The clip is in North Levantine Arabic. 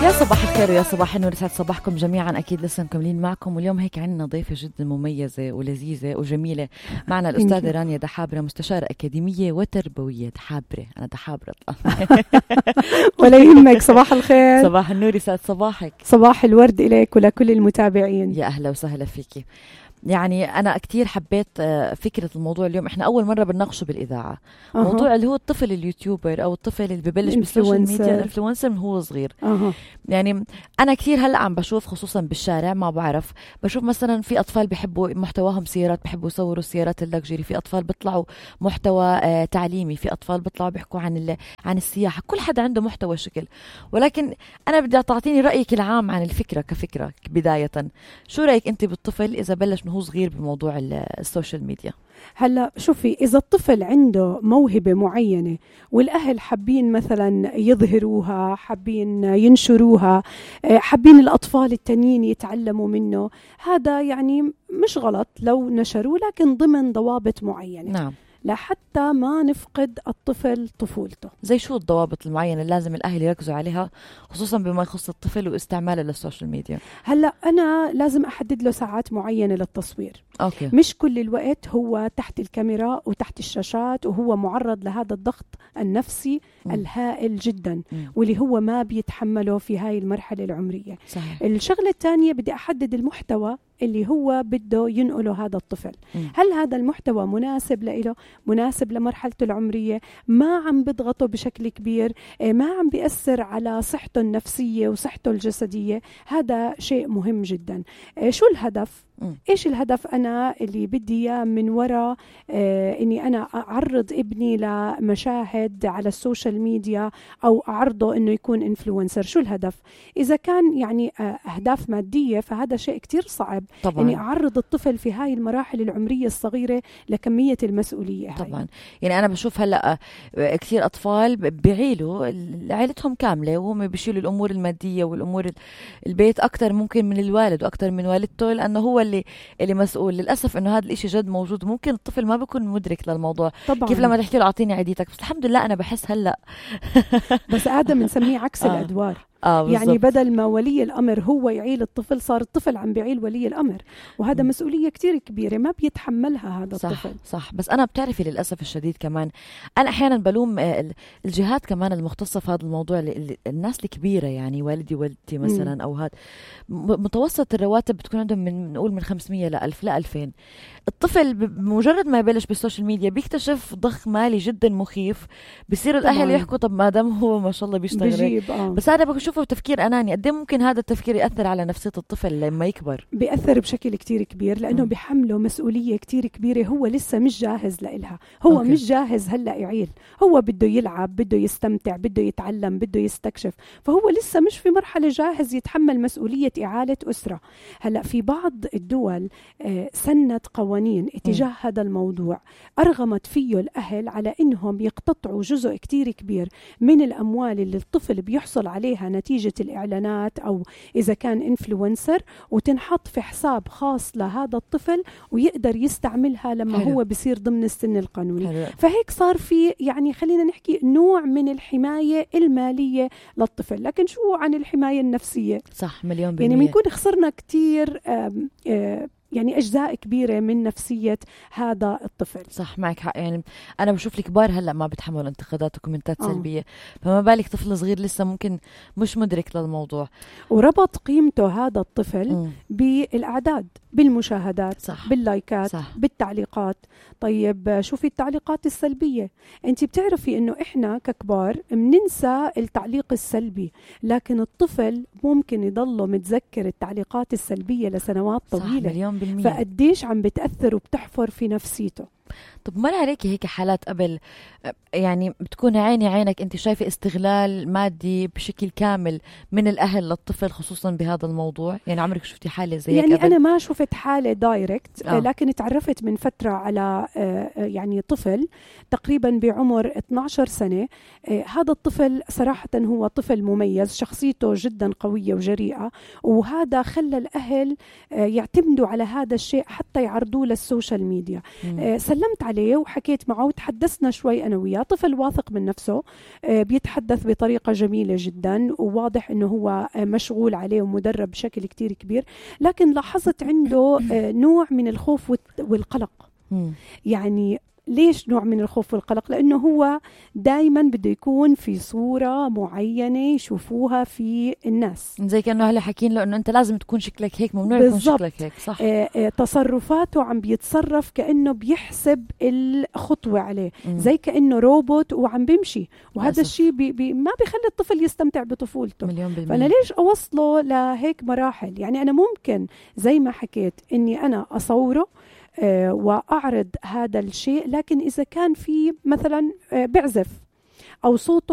يا صباح الخير ويا صباح النور، يسعد صباحكم جميعا. أكيد لسه مكملين معكم، واليوم هيك عنا ضيفة جدا مميزة ولذيذة وجميلة معنا، الأستاذة رانيا دحابرة، مستشارة أكاديمية وتربوية. دحابرة، أنا دحابرة ولا يهمك. صباح الخير. صباح النور، يسعد صباحك. صباح الورد إليك ولكل المتابعين. يا أهلا وسهلا فيكي. يعني أنا كتير حبيت فكرة الموضوع اليوم. إحنا أول مرة بنناقشه بالإذاعة، موضوع اللي هو الطفل اليوتيوبر أو الطفل اللي ببلش بالسوشيال ميديا، الانفلونسر من هو صغير. يعني أنا كتير هلأ عم بشوف، خصوصا بالشارع، ما بعرف، بشوف مثلا في أطفال بيحبوا محتواهم سيارات، بيحبوا يصوروا السيارات اللكجري، في أطفال بيطلعوا محتوى تعليمي، في أطفال بيطلعوا بيحكوا عن السياحة. كل حدا عنده محتوى شكل، ولكن أنا بدي تعطيني رأيك العام عن الفكرة كفكرة بداية. شو رأيك أنت بالطفل إذا بلش هو صغير بموضوع السوشيال ميديا؟ هلا شوفي، إذا الطفل عنده موهبة معينة والأهل حابين مثلا يظهروها، حابين ينشروها، حابين الأطفال التانيين يتعلموا منه، هذا يعني مش غلط لو نشروا، لكن ضمن ضوابط معينة. نعم، لحتى ما نفقد الطفل طفولته. زي شو الضوابط المعينة اللي لازم الأهل يركزوا عليها، خصوصا بما يخص الطفل واستعماله للسوشيال ميديا؟ هلا أنا لازم أحدد له ساعات معينة للتصوير. أوكي. مش كل الوقت هو تحت الكاميرا وتحت الشاشات، وهو معرض لهذا الضغط النفسي الهائل جدا، واللي هو ما بيتحمله في هاي المرحلة العمرية. صحيح. الشغلة الثانية، بدي أحدد المحتوى اللي هو بده ينقله هذا الطفل. هل هذا المحتوى مناسب له، مناسب لمرحلته العمرية، ما عم بضغطه بشكل كبير، ما عم بيأثر على صحته النفسية وصحته الجسدية؟ هذا شيء مهم جدا. شو الهدف؟ إيش الهدف أنا اللي بدي إياه من وراء إني أنا أعرض ابني لمشاهد على السوشيال ميديا أو أعرضه إنه يكون إنفلونسر؟ شو الهدف؟ إذا كان يعني أهداف مادية، فهذا شيء كتير صعب طبعاً. إني أعرض الطفل في هاي المراحل العمرية الصغيرة لكمية المسؤولية هاي. طبعا. يعني أنا بشوف هلأ كثير أطفال بيعيلوا عائلتهم كاملة، وهم بيشيلوا الأمور المادية والأمور البيت أكتر ممكن من الوالد وأكتر من والدته، لأنه هو اللي مسؤول. للأسف إنه هذا الإشي جد موجود، ممكن الطفل ما بيكون مدرك للموضوع. طبعاً. كيف لما تحكي له أعطيني عيديتك، بس الحمد لله أنا بحس هلأ بس هذا بنسميه عكس الأدوار. يعني بدل ما ولي الأمر هو يعيل الطفل، صار الطفل عم بيعيل ولي الأمر، وهذا مسؤولية كتير كبيرة ما بيتحملها هذا الطفل. صح. بس أنا بتعرفي للأسف الشديد كمان أنا أحيانا بلوم الجهات كمان المختصة في هذا الموضوع، الناس الكبيرة، يعني والدي والدتي مثلا، أو هذا متوسط الرواتب بتكون عندهم من نقول من 500 ل 1000 ل 2000. الطفل بمجرد ما يبلش بالسوشيال ميديا بيكتشف ضخ مالي جدا مخيف، بصير الأهل يحكوا طب ما دام هو ما شاء الله بيشتغل بس هذا بشوفه تفكير أناني. قد ايه ممكن هذا التفكير يأثر على نفسية الطفل لما يكبر؟ بيأثر بشكل كتير كبير، لأنه بيحمله مسؤولية كتير كبيرة هو لسه مش جاهز لإلها. هو أوكي. مش جاهز هلأ يعيل، هو بده يلعب، بده يستمتع، بده يتعلم، بده يستكشف، فهو لسه مش في مرحلة جاهز يتحمل مسؤولية إعالة أسرة. هلأ في بعض الدول سنت قوانين اتجاه هذا الموضوع، أرغمت فيه الأهل على إنهم يقتطعوا جزء كتير كبير من الأموال اللي الطفل بيحصل عليها نتيجة الإعلانات أو إذا كان إنفلونسر، وتنحط في حساب خاص لهذا الطفل ويقدر يستعملها لما حلو. هو بيصير ضمن السن القانوني. حلو. فهيك صار في يعني خلينا نحكي نوع من الحماية المالية للطفل، لكن شو عن الحماية النفسية؟ صح، 100%. يعني بنكون خسرنا كتير يعني أجزاء كبيرة من نفسية هذا الطفل. صح، معك حق. يعني أنا بشوف الكبار هلأ ما بتحملوا انتقادات وكومنتات سلبية، فما بالك طفل صغير لسه ممكن مش مدرك للموضوع. وربط قيمته هذا الطفل بالأعداد، بالمشاهدات، صح. باللايكات، صح. بالتعليقات. طيب شوفي التعليقات السلبية، أنت بتعرفي إنه إحنا ككبار مننسى التعليق السلبي، لكن الطفل ممكن يضله متذكر التعليقات السلبية لسنوات طويلة. فقديش عم بتأثر وبتحفر في نفسيته. طب مر عليكي هيك حالات قبل، يعني بتكون عينك انت شايفة استغلال مادي بشكل كامل من الأهل للطفل خصوصا بهذا الموضوع؟ يعني عمرك شفتي حالة زي يعني قبل؟ أنا ما شفت حالة دايركت، لكن تعرفت من فترة على يعني طفل تقريبا بعمر 12 سنة. هذا الطفل صراحة هو طفل مميز، شخصيته جدا قوية وجريئة، وهذا خلى الأهل يعتمدوا على هذا الشيء حتى يعرضوه للسوشيال ميديا. سلمت عليه وحكيت معه وتحدثنا شوي أنا وياه. طفل واثق من نفسه، بيتحدث بطريقة جميلة جدا، وواضح أنه هو مشغول عليه ومدرب بشكل كتير كبير، لكن لاحظت عنده نوع من الخوف والقلق. يعني ليش نوع من الخوف والقلق؟ لأنه هو دايما بده يكون في صورة معينة يشوفوها في الناس، زي كأنه هلا حكين له أنه أنت لازم تكون شكلك هيك، ممنوع يكون شكلك هيك. صح. تصرفاته عم بيتصرف كأنه بيحسب الخطوة عليه، زي كأنه روبوت وعم بيمشي، وهذا الشيء ما بيخلي الطفل يستمتع بطفولته. فأنا ليش أوصله لهيك مراحل؟ يعني أنا ممكن زي ما حكيت إني أنا أصوره وأعرض هذا الشيء، لكن إذا كان في مثلا بعزف أو صوته